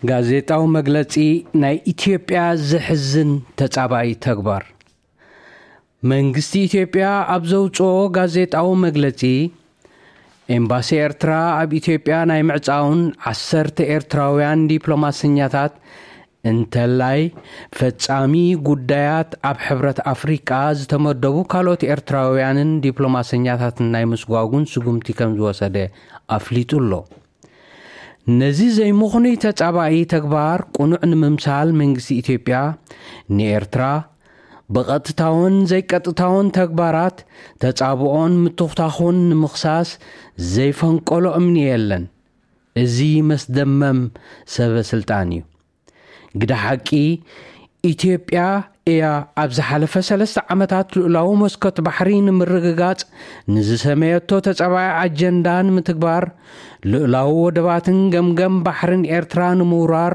ጋዜጣዊ መግለጺ። ናይ ኢትዮጵያ ዘሕዝን ተጻባኢ ተግባር። መንግስቲ ኢትዮጵያ ኣብ ዘውጽኦ ጋዜጣዊ መግለጺ፣ ኤምባሲ ኤርትራ ኣብ ኢትዮጵያ ናይ ምዕጻውን ዓሰርተ ኤርትራውያን ዲፕሎማሰኛታት፣ እንተላይ ፈጻሚ ጉዳያት ኣብ ሕብረት ኣፍሪቃ ዝተመደቡ ካልኦት ኤርትራውያንን ዲፕሎማሰኛታትን ናይ ምስጓጉን ስጉምቲ ከም ዝወሰደ ኣፍሊጡ ኣሎ። ነዚ ዘይምኽኑይ ተጻባኢ ተግባር ቅኑዕ ንምምሳል መንግስቲ ኢትዮጵያ ንኤርትራ ብቐጥታውን ዘይቀጥታውን ተግባራት ተጻብኦን ምትኹታኹን ንምኽሳስ ዘይፈንቀሎ እምኒ የለን። እዚ መስደመም ሰበ ስልጣን እዩ። ግደ ሓቂ፣ ኢትዮጵያ እያ ኣብ ዝሓለፈ ሰለስተ ዓመታት ልኡላዊ መስኮት ባሕሪ ንምርግጋጽ ንዝሰመየቶ ተጻባኢ ኣጀንዳ ንምትግባር፣ ልኡላዊ ወደባትን ገምገም ባሕርን ኤርትራ ንምውራር፣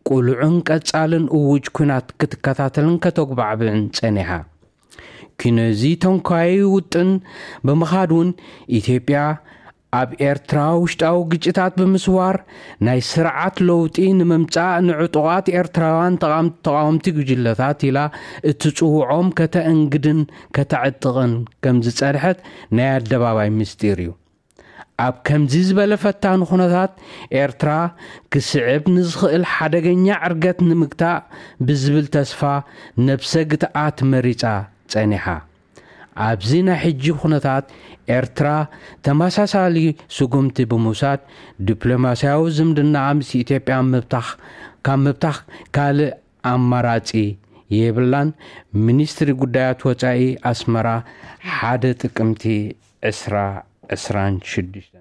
ቁሉዕን ቀጻልን እውጅ ኲናት ክትከታተልን ከተጉባዕብዕን ጸኒሓ። ኪነዚ ተንኳይ ውጥን ብምኻድ እውን፣ ኢትዮጵያ ኣብ ኤርትራ ውሽጣዊ ግጭታት ብምስዋር፣ ናይ ስርዓት ለውጢ ንምምጻእ ንዕጡቓት ኤርትራውያን ተቓም-፣ ተቓወምቲ ጉጅለታት ኢላ እትጽውዖም ከተእንግድን ከተዕጥቕን ከም ዝጸንሐት ናይ ኣደባባይ ምስጢር እዩ። ኣብ ከምዚ ዝበለ ፈታኒ ኩነታት፣ ኤርትራ ክስዕብ ንዝኽእል ሓደገኛ ዕርገት ንምግታእ ብዝብል ተስፋ፣ ነብሰ ግትኣት መሪጻ ጸኒሓ። ኣብዚ ናይ ሕጂ ኩነታት፣ ኤርትራ ተመሳሳሊ ስጉምቲ ብምውሳድ፣ ዲፕሎማስያዊ ዝምድና ምስ ኢትዮጵያ ምብታኽ፣ ካብ ምብታኽ ካልእ ኣማራጺ የብላን። ሚኒስትሪ ጉዳያት ወጻኢ ኣስመራ፣ ሓደ ጥቅምቲ ዕስራ ዕስራን ሽዱሽተ።